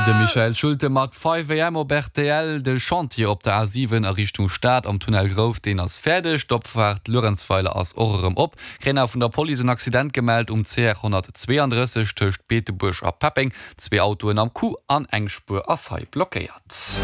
De Michael Schulte mat 5 AM op rtl. De Chantier op der A7 a Richtung Stad am Tunnel Grouf, deen ass fäerdeg. D'Opfaart Luerenzweiler ass och erëm op. Kréien vun der Police en Accident gemellt um CR 132 tëscht Beetebuerg a Peppeng. Zwee Autoen am Coup an eng Spuer ass hei blockéiert.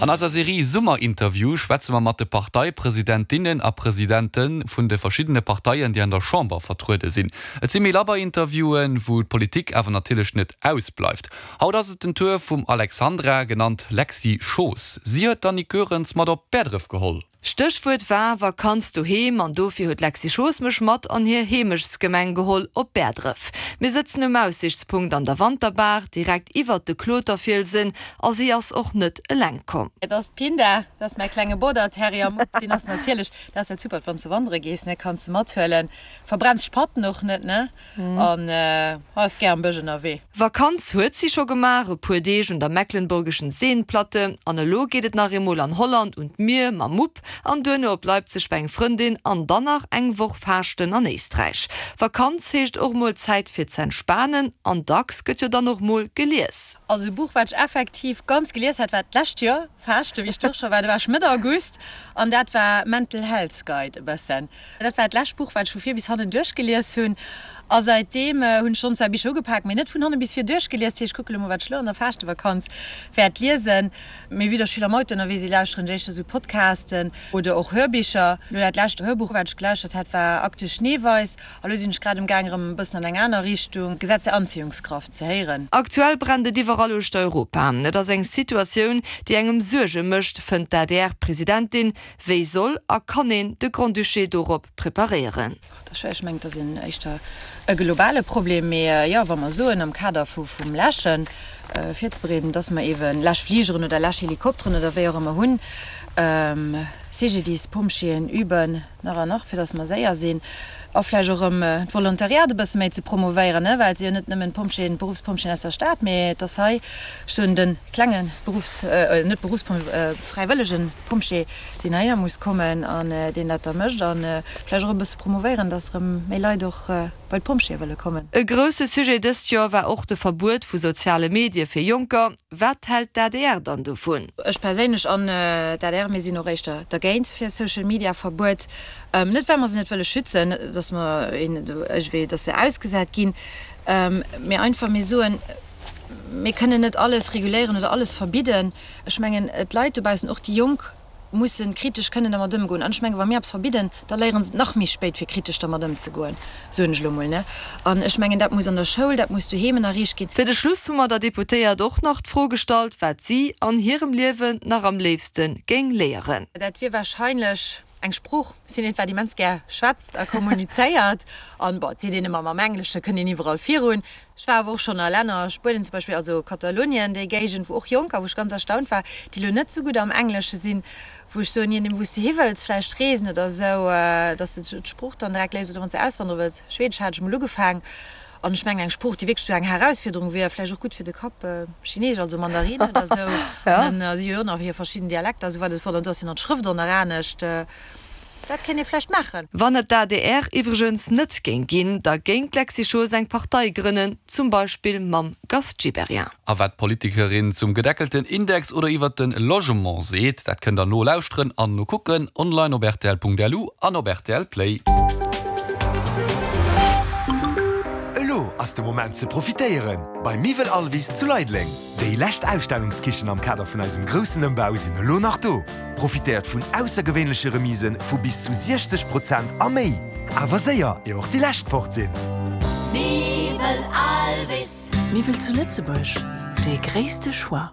An eiser Serie Summerinterview schwätze mer mat de Parteipresidentinnen a Presidente vun de verschiddene Parteien, déi an der Chamber vertruede sinn. Et si méi labber Interviewen, wou d'Politik awer natierlech net ausbleift. Haut ass et den Tour vum Alexandra, genannt Lexy Schoos. Si huet d'Annick Goerens mat op Bäerdref geholl. Stéchwuert war Vakanz doheem an dofir huet d'Lexy Schoos mech mat an hir Heemechtsgemeng geholl, op Bäerdref. Mir sëtzen um Aussichtspunkt an der Wanterbaach, direkt iwwert de Kloterfielsen a si ass och net eleng komm. Et ass d'Pinda, dat ass mäi klenge Border Terrier Mupp. Deen ass natierlech, dat ass dat Supert wann s de wandere gees, ne, kanns de mathuelen, verbrenns d'Patten och net, ne, an ass gär am Bësch ënnerwee. Vakanz huet si scho gemaach, e puer Deeg un der Mecklenburgischen Seenplatte an elo geet et nach eemol an Holland un d'Mier mam Mupp an duerno op Leipzig bei eng Frëndin an dann nach eng Woch Faaschten an Éisträich. Vakanz heescht och mol Zäit fir z'entspanen an dacks gëtt jo dann och mol gelies. Also e Buch wat ech effektiv ganz gelies hat war d'lescht Joer Faaschte wéi ech do scho war, do war ech Mëtt August an dat war Mental Health Guide e bëssen. Dat war d'lescht Buch, wat ech vu vir bis hannen duerchgelies hunn. A säitdeem hunn ech schonn zwar Bicher ugepak, mee net vun hanne bis vir duerchgelies. Dat heescht, ech kucke lo mol, wat ech lo an der Faaschtewakantz wäert liesen. Mee vue dass ech vill am Auto ënnerwee sinn, lauschteren ech éischter sou Podcasten oder och Hörbicher. Lo dat lescht Hörbuch, wat ech gelauschtert hat, war Akte Schneeweiss. A lo sinn ech grad um Gaang, erëm e bëssen an eng aner Richtung, Gesetz der Anziehungskraft, ze héieren. Aktuell brennt et iwwerall uechter Europa. Et ass eng Situatioun, déi engem Suerge mécht, fënnt d'ADR-Presidentin. Wéi soll a kann een de Grand-Duché dorop preparéieren? Dat ass schwéier. Ech mengen, et ass een éischter e globale Problem. Mee jo, wa mer soen, am Kader vum Läschen virzebereeden, dass mer eeben Läschfligeren oder Läschhelikopteren oder wéi och ëmmer hunn, CGDIS, Pompjeeën üben nach an nach, fir dass mer séier sinn a vläicht och erëm d'Volontariat e bësse méi ze promovéieren, well et si jo net nëmmen d'Pompjeeën, d'Beruffspompjeeën aus der Stad, mee et ass hei, ech soen, de klenge Beruffs-, net Beruffspompjee, fräiwëllegen Pompjee, deen heihinner muss kommen an deen dat da mécht a vläicht och e bësse promovéieren, dass erëm méi Leit och bei d'Pompjeeë wëlle kommen. E grousse Sujet dëst Joer war och de Verbuet vu soziale Medie fir Jonker. Wat hält d'ADR dann dovun? Ech perséinlech an d'ADR, mir sinn och éischter dergéint fir e Social Media Verbuet. Net well mer se net wëlle schützen, datt mer iergendwéi, datt se ausgesat ginn, mee einfach mir soen, mir kënnen net alles reguléieren oder alles verbidden. Ech mengen d'Leit dobaussen, och déi Jonk, mussen kritesch kënnen dermat ëmgoen. An ech mengen, wa mir eppes verbidden, da léieren se et nach méi spéit, fir kritesch dermat ëmzegoen, soen ech elo emol, ne. An ech mengen, dat muss an der Schoul, dat muss doheem ënnerriicht ginn. Fir de Schluss hu mer der Deputéiert och nach d'Fro gestallt, wat si an hirem Liewen nach am léifste géing léieren. Dat wier wahrscheinlech eng Sprooch. Ech sinn eent, wat immens gär schwätzt a kommunizéiert. An, bon, et seet een ëmmer, mam Englesche kënnt een iwwerall virun. Ech war awer och schonn a Länner, Spuenien zum Beispill, also Katalonien, déi Géigend, wou och Jonker, wou ech ganz erstaunt war, déi elo net sou gutt am Englesche sinn, wou ech soen, je nodeem wou s de hi wëlls vläicht reesen oder esou, dass de d'Sprooch dann direkt léiers oder wann s de auswandere wëlls. Schwedesch hat ech emol ugefaang an ech mengen eng Sprooch, déi wierklech sou eng Herausfuerderung wier, vläicht och gutt fir de Kapp, Chineesch, also Mandarin oder esou. An dann si jo och nach hir verschidden Dialekter, esou wat et wor, an do ass jo nach d'Schrëft och nach anescht. Dat kéint ee vläicht maachen. Wann et d'ADR iwwregens net géing ginn, da géing d'Lexy Schoos eng Partei grënnen, zum Beispill mam Gast Gibéryen. A wat d'Politikerin zum gedeckelten Index oder iwwert de Logement seet, dat kënnt der nolauschteren an nokucken online op rtl.lu an op rtl Play. Elo ass de Moment ze profitéieren bei Miwwel Alvis zu Leideleng. Déi lescht Ausstellungskichen am Kader vun eisem groussen Ëmbau sinn elo nach do. Profitéiert vun aussergewéinleche Remise vu bis zu 60 Prozent a méi! Awer séier, ier och déi lescht fort sinn! Miwwel Alvis. Miwwel zu Lëtzebuerg, dee gréisste Choix.